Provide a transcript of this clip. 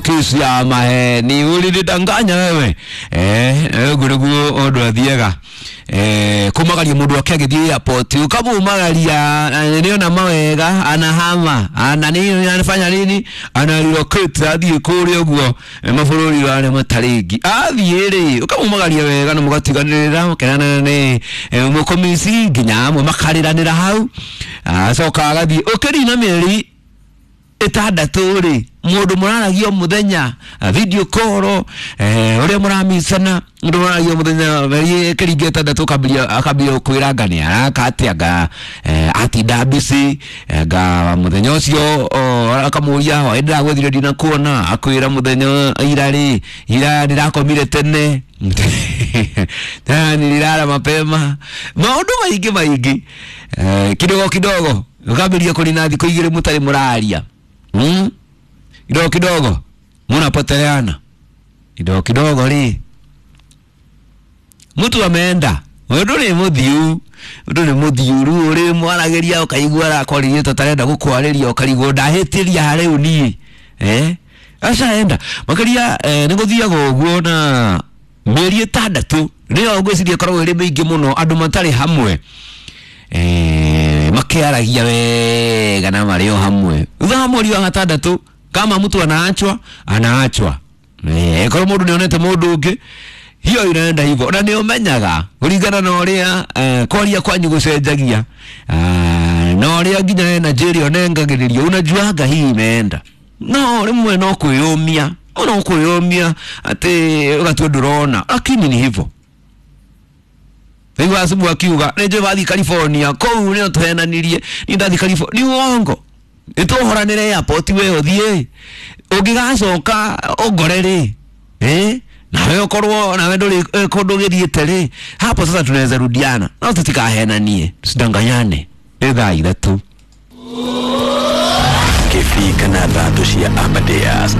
Kesi ya maheni ulinidanganya wewe. Ũguo nĩguo ũndũ athiaga. Kumagaria mũndũ wake agĩthiĩ airport ukamumagaria nĩona mawega anahama ana nini anafanya nini ana relocate athiĩ kũrĩa ũguo mabũrũri marĩa matarĩ athiĩ rĩ ukamumagaria wega na mũgatiganĩrĩra mũkenana nĩ mũkomisi nginya amwe makarĩranĩra hau acoka agathiĩ ũkĩrina mĩeri 6 rĩ mũndũ mũraragia mũthenya video call ũrĩa mũramicana mũndũ mũraragia mũthenya mĩeri ĩkĩringa 6 akambia kwĩra nga nĩ araka atĩa nga atinda busy nga mũthenya ũcio akamũria hwaĩ ndĩragwethire ndinakuona akwĩra mũthenya ira rĩ ira ndĩrakomire tene nililala mapema maũndũ maingĩ maingĩ kidogo kidogo ũkambĩrĩria kũrina thikũ 2 mũtarĩ mũraria. Kidogo kidogo munapoteleana kidogo kidogo ri mtu ameenda undu ni muthiu undu ni muthiu ru uri mwaragiria ukaigua arakwaririe tatarenda gukwariria ukarigwo ndahitiria riu ni acaenda makiria ni guthiaga uguo na mĩeri 6 niyo ngwiciria ikoragwo ĩrĩ mĩingĩ mũno andũ matarĩ hamwe makiaragia wega na marĩ o hamwe thutha wa mweri wa 6 kama mtu anaachwa anaachwa korwo mũndũ nĩonete mũndũ ũngĩ hiyo inaenda hivyo na nĩũmenyaga kũringana na ũrĩa kwaria kwanyu gũcenjagia na ũrĩa nginya energy ĩrĩa ũnengagĩrĩrio unajuaga hii imeenda no rĩmwe no kwĩyũmia no kwĩyũmia atĩ ũgatua ndũrona lakini ni hivyo. Rĩu asubuhi akiuga nĩ wathiĩ California kũu nĩo tũhenanirie ni ndathi California ni uongo nĩtũhoranĩre airport we ũthiĩ ũngĩgacoka ũngore rĩ nawe ũkorwo nawe ndũrĩ kũndũ ũgĩthiĩte rĩ hapo sasa tunaweza rudiana no tutikahenanie tusidanganyane. Nĩ thaa 3 Kĩbii kana thandũ cia Amadeus.